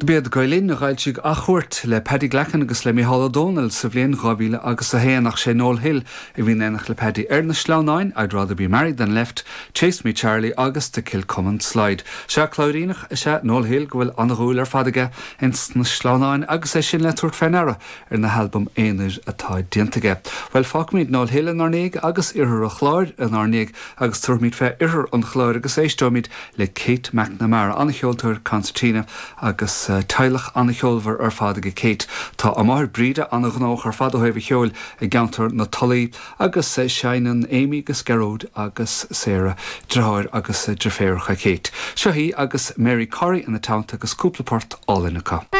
B'iad Gael Linn a d'fhoilsigh Athchuairt le Paddy Glackin agus le Mícheál Ó Domhnaill sa bhliain 2000 agus 1 ach sé Noel Hill a bhí in éineacht le Paddy ar Na Sleamhnáin, I'd Rather Be Married Than Left, Chase Me Charlie agus The Kilcummin Slide. Sea, Cláiríneach is ea Noel Hill go bhfuil an-dhúil ar fad aige ins na sleamhnáin agus é sin le tabhairt fé ndeara ar na halbaim aonair atá déanta aige. Bhuel, fágfaimid Noel Hill inár ndiaidh agus Iarthar an Chláir inár ndiaidh agus tabharfaimid fé Oirthear an Chláir agus éisteoimid le Kate McNamara, an-cheoltóir concertina agus teaghlach an-cheolmhar ar fad aige Kate. Tá a máthair Breda an-ghnóthach ar fad ó thaobh an cheoil i gceantar na Tulaí agus seinneann Amy agus Gearóid agus Sarah, deartháir agus deirféaracha Kate. Seo í agus Mary Corry ina teannta agus cúpla port álainn acu.